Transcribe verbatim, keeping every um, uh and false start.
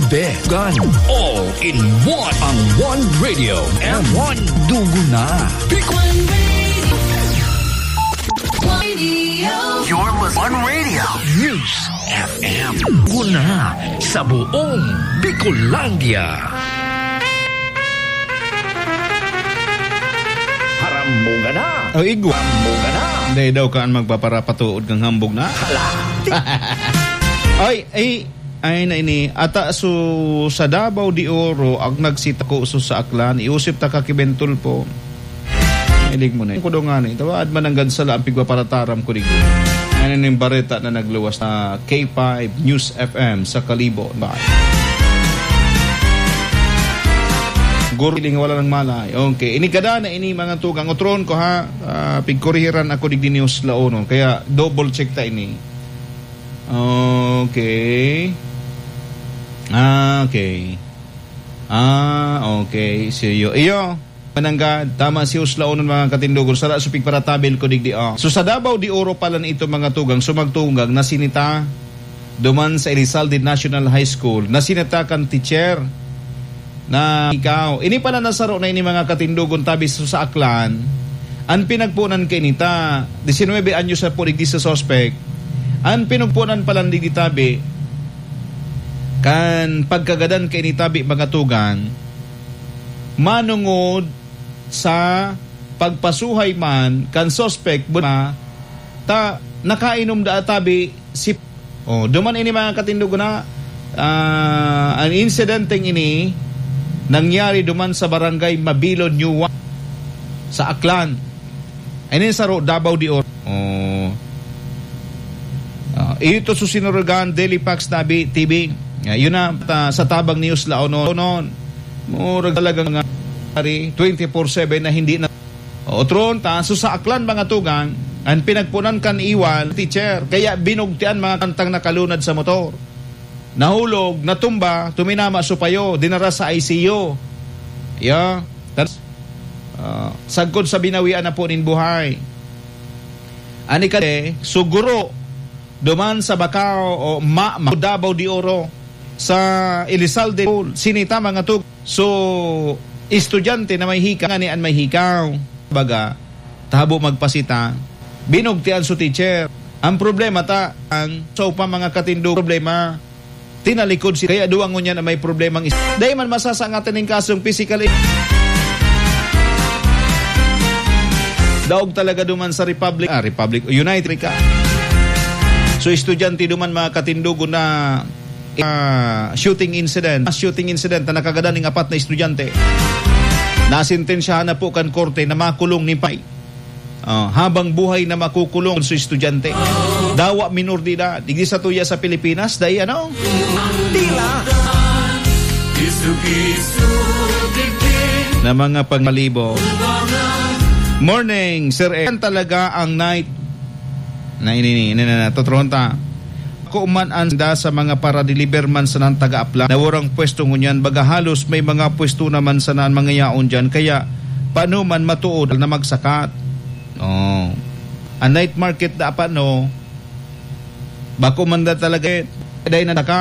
Began. All in one. Ang One Radio. M one Dugo na. Big One Radio. You're with One Radio. News F M. Dugo na sa buong Bicolandia. Harambuga na. O, igwa. Harambuga na. Dai daw ka an magpaparapatuod kang hambog na. Hala. Ay, ay, ay na ini. Ata su sa Davao de Oro, ang nagsitako su sa Aklan. Iusip ta ka ki Ben Tulfo. Ilig mo na. Kudo nga ni. Tawaad man ang gansala ang pigpaparataram ko digdi. Ano ning bareta na nagluwas na K five News F M sa Kalibo. Bye. Guro, iling wala ng malay. Okay. Ini kada na ini, mga tugang. Otron ko, ha. Ah, pigkurihiran ako digdi ni Uslaonon. Kaya double check ta ini. Okay. Ah, okay. Ah, okay. See you. Iyo. Mananggad, tama si Uslaonon, mga katindogon. Sara su pigparatabil ko digdi, ah. So, sa Davao de Oro pala na ito, mga tugang, sumagtugang, nasinita duman sa Elizalde National High School. Nasinita kan teacher na ikaw. Ini pala na saro na ini, mga katindogon, tabi sa, sa Aklan. An pinagpunan kaini ta, diecinuebe anyos na po digdi sa suspect. An pinagpunan pala digdi tabi, kan pagkagadan kaini tabi, mga tugang, manungod sa pagpasuhay man kan suspect, bu-, ta nakainom da tabi si, oh, duman ini, mga katindog na, ah, ang insidenteng ini nangyari duman sa barangay Mabilo, New Wa-, sa Aklan. Ini saro, Davao de Oro. Oh. Ah, ito su sinurugan, Daily Facts Tabi, T V. Ah, yun na, ta-, sa tabang ni Uslaonon. Murag talagang mga ari, twenty-four seven na hindi na. Otron ta, so sa Aklan, mga tugang, ang pinagpunan kan iwal, teacher, kaya binugtian mga kantang nakalunad sa motor. Nahulog, natumba, tuminama su payo, dinara sa I C U. Ya, tan-, ah, sagkod sa binawian na po nin buhay. Ani kadi, suguro, duman sa Bacau o Ma-, Ma-, Davao de Oro, sa Elizalde, sinita mga tug-, so, estudyante na may hika, ngani an may hikaw. Baga, tahabo magpasita, binugtian su teacher. Ang problema ta, ang, so pa mga katindog problema, tinalikod si, kaya duwa ngunyan na may problemang is-, dai man masasangatan ning kasong physical i-, daog talaga duman sa Republic, ah, Republic, United ka. So, estudyante duman, mga katindogon na, ah, shooting incident, shooting incident na nakagadan ning apat na estudyante. Nasentensyahan na po kan korte na makulong ni Pai. Ah, habang buhay na makukulong su estudyante. Dawa minor de edad. Digdi sa tuya sa Pilipinas, dai ano? Tila. Na mga pangalibo. Morning, Sir Ed. Yan talaga ang night. Na ini, ini, ini, na, na, totoo ta. Ako man an da sa mga para-deliver man sana an taga-Aplan. Nawara an pwesto ngunyan, baga halos may mga pwesto naman sana an mga yaon diyan. Kaya, paano man matuod na magsakat? Oh. An night market dapat, no? Bako man da talaga, eh, dai na taka.